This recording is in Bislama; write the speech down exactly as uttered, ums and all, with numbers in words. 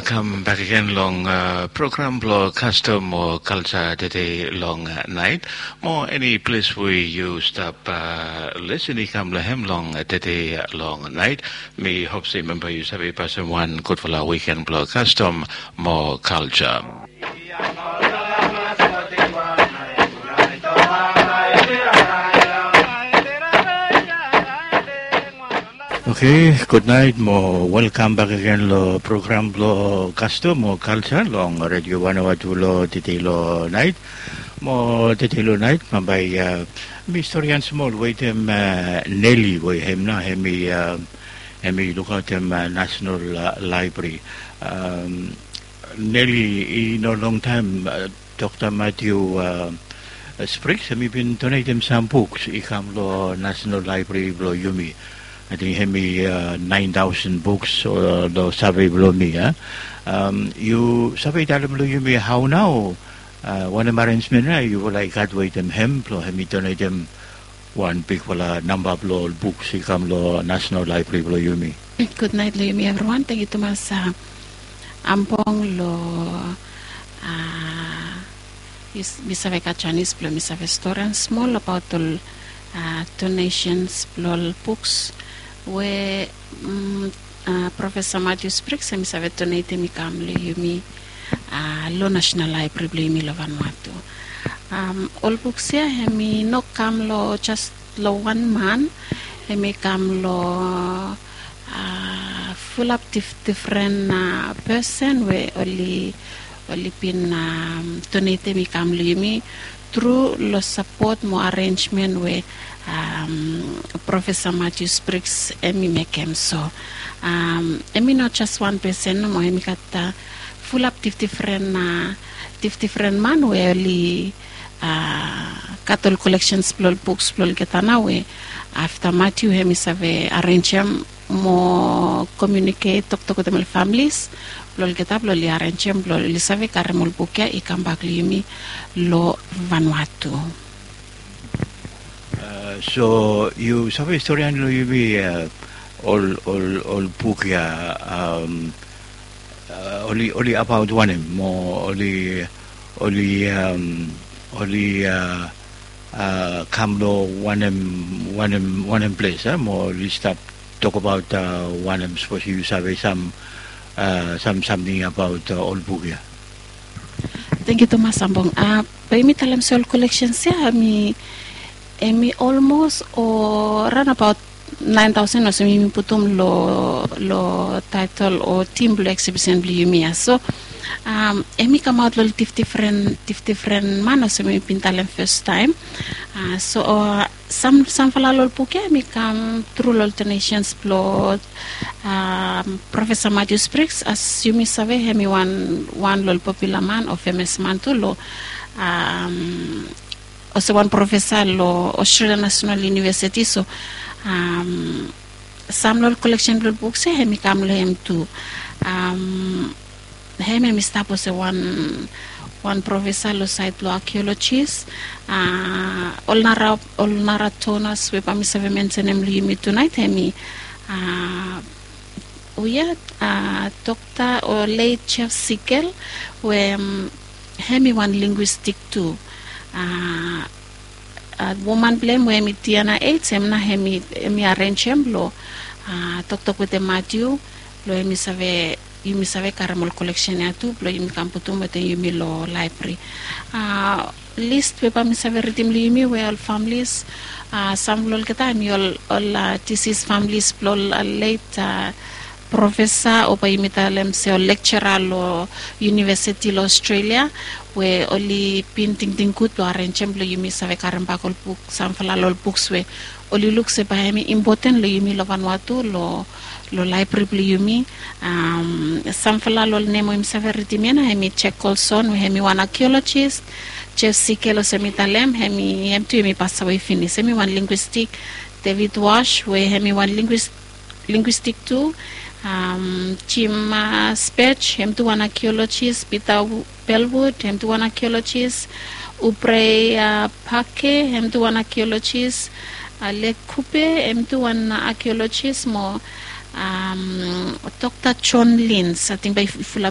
kam bakegen long program blong kastom o kalja tede long nait. Mo eni ples we yu stap lesen i kam long hem long tede long nait, mi hop se memba yu save pasim wan gudfala wiken blong kastom mo kalja. Oke, gudnait mo welkam bakegen long program blong kastom o kalja long redio wan aoa tu long tede long nait. Mo tede long nait bambae mi storian smol wetem Neli we hem nao hem i lukaotem Nasenal Laebri. Neli, i no longtaem Dokta Matiu Spriks hem i bin donetem sam buks i kam long Nasenal Laebri blong yumi. Ating hem i naen taosen buks long save blong mi. Yu save talem long yumi hao nao wanem arensmen ya yufala i gat wetem hem blong hem i donetem wan bigfala namba blong ol buks i kam long Nasenal Laebri blong yumi? Gudnait long yumi evriwan. Tangkiu tumas Ambong long mi save gat janis blong mi save storian smol abaot ol donesens blong ol buks we Profesa Matiu Spriks hem i save donetem i kam long yumi long Nasenal Laebri blong yumi long Vanuatu. Ol buks ya hem i no kam long jes long wan man. Hem i kam long fulap difdifren pesen we oli oli bin donetem i kam long yumi tru long sapot mo arenjmen we Profesa Matiu Spriks hem i mekem. So hem i no jes wan pesen nomo, hem i gat fulap difdifren difdifren man we oli gat ol koleksens blong ol buks blong olgeta nao we afta Matiu hem i save arenjem mo komiuniket toktok wetem ol familis blong olgeta blong oli arenjem blong oli save karem ol buk ya i kambak long yumi long Vanuatu. So yu save storian long yumi ol ol ol buk ya oli oli abaot wanem mo oli oli oli kam long wanem wanem wanem ples mo oli stap tokabaot wanem sapos yu save sam sam samting abaot ol buk ya. Tangkiu tumas Ambong. Bae yumi talem se ol koleksens ya hem i hem i olmos o raon abaot naen taosen olsem yumi putum long long taetol o tim blong eksibisen blong yumi ya. So hem i kamaot long ol difdifren difdifren man olsem yumi bin talem fastaem. So sam samfala long ol buk ya hem i kam tru long ol donesens blong Profesa Matiu Spriks, as yumi save hem i wan wan long ol popula man o femes man tu long olsem wan profesa long Australia National University. So sam long ol koleksen blong ol buks ya hem i kam long hem tu. Hem hem i stap olsem wan wan profesa long saed blong akiolojis. Ol nara ol nara donas we bae mi save mensenem long yumi tunaet hem i we ya Dokta o leit Jeff Sikel we hem i wan lingwistik tu. Woman blong hem we hem i Diana H hem nao hem i arenjem blong toktok wetem Matiu blong hem i save yumi save karem ol koleksen ya tu blong yumi kam putum wetem yumi long laebri. Lis we bae mi save ridim long yumi we ol familis sam blong olgeta hem i ol ol disis familis blong ol leit profesa o bae yumi talem se ol lekjera long yunivesiti long Australia we oli bin tingting gud blong arenjem blong yumi save karembak ol buk samfala long ol buks we oli luk se bae hem i impoten long yumi long Vanuatu long long laebri blong yumi. Samfala long ol nem we yumi save ridim ya nao hem i Jack Colson we hem i wan akiolojis, Jeff Sikel olsem mi talem hem i hem tu hem i pasawe finis, hem i wan lingwistik, David Wash we hem i wan lingwistik tu, Jim Spetch hem tu wan akiolojis, Peter Bellwood hem tu wan akiolojis, Ubrei Pake hem tu wan akiolojis, Alek Kupe hem tu wan akiolojis mo Dokta John Lins. Ating bae i fulap